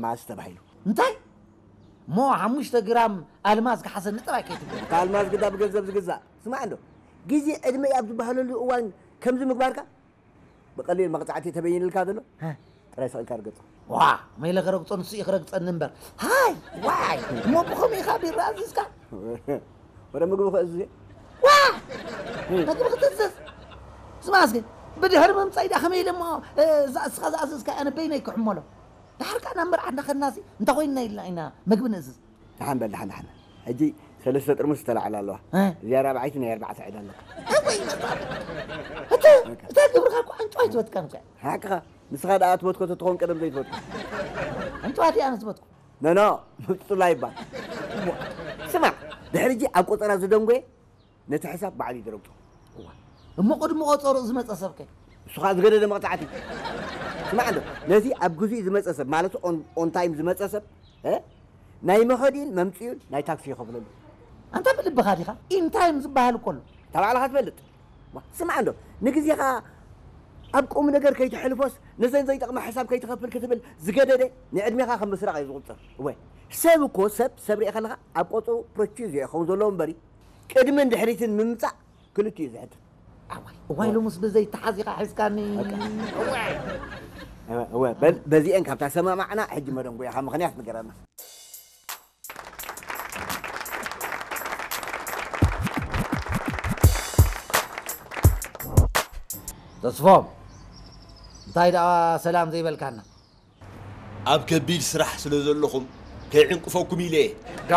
ማስ ተባሂሉ። እንታይ እሞ ሓሙሽተ ግራም ኣልማዝ ክሓሰኒ ጥራይ ከይትብል። ካልማዝ ግዳ ብገንዘብ ዝግዛእ ስማዕ እንዶ፣ ግዜ ዕድመ ኣብ ዝበሃለሉ እዋን ከምዚ ምግባርካ ብቐሊል መቕፃዕቲ ተበይንልካ ዘሎ ጥራይ ስቕ ኢልካ ርገፆ። ዋ መይለ ክረግፆ ንሱ እዩ ክረግፀኒ እምበር። ሃይ ዋይ እሞ ብኸምኡ ኢኻ ቢራ ኣዚዝካ? ወረ ምግቢ ክእዝዝ እየ። ዋ መግቢ ክትእዝዝ? ስማስ ግን ብድሕሪ ምምፃይ ዳ ከመይ ኢለ እሞ እዛ እስኻ ዝኣዘዝካ ኣነ በይነይ ክሕመሎ? ድሓር ከኣ ናብ መርዓ እናኸድናሲ እንተኾይንና ኢልና ኢና መግቢ ንእዝዝ። ደሓን በል ደሓን ደሓን። ሕጂ ሰለስተ ጥርሙስ ዝተላዕላ ኣለዋ። እዚኣ ራብዓይቲ ናይ ኣርባዕተ ዕዳ ኣለካ። እታ ግብርካ እኮ ኣንጭዋ ኣይትወትካን እኮ። ሓቅኻ። ንስኻ ደኣ ትወትኮ ተትኸውን ቀደም ዘይትወትኮ። ኣንጭዋ ድያ ኣነ ዝወትኩ? ኖኖ። ምብፅፁላ ይባል። ስማዕ፣ ድሕሪ እጂ ኣብ ቆፀራ ዝደንጎየ ነቲ ሕሳብ ባዕሉ ይደረግፆ። እሞ ቅድሚ ቆፀርኡ ዝመፀ ሰብከ? እሱ ከዓ ዝገደደ መቕፃዕቲ። ስማዕ እንዶ፣ ነቲ ኣብ ግዜኡ ዝመፀ ሰብ ማለት ኦንታይም ዝመፀ ሰብ ናይ መኸዲን መምፅኡን ናይ ታክሲ ይኸፍለሉ። ኣንታ ብልብኻ ዲኻ ኢንታይም ዝበሃል እኮ ኣሎ። እታ ባዕልኻ ትፈልጥ። ስማዕ እንዶ፣ ንግዜኻ ኣብ ቁም ነገር ከይትሕልፎስ ነዘን ዘይጠቕማ ሕሳብ ከይትኸፍል ክትብል ዝገደደ ንዕድሜኻ ከም ምስራቕ እዩ ዝቑፅር። እወ ሰብ እኮ ሰብ ሰብ ርእ ከለኻ ኣብ ቆፅሩ ፕሮቺዝ ይኸውን ዘለዎ እምበሪ ቅድምን ድሕሪትን ምምፃእ ክልቲኡ እዩ ዝሕትን። ኣዋይ እዋይ ሎምስ ብዘይ ተሓዚኻ ሒዝካኒ። እወ በል በዚአን ካብ ተሰማማዕና ሕጂ መደንጎያኻ ምኽንያት ንገረና። ተስፎም እንታይ ደኣ ሰላም ዘይበልካና? ኣብ ከቢድ ስራሕ ስለ ዘለኹም ከይዕንቅፈኩም ኢለ እየ። ዶ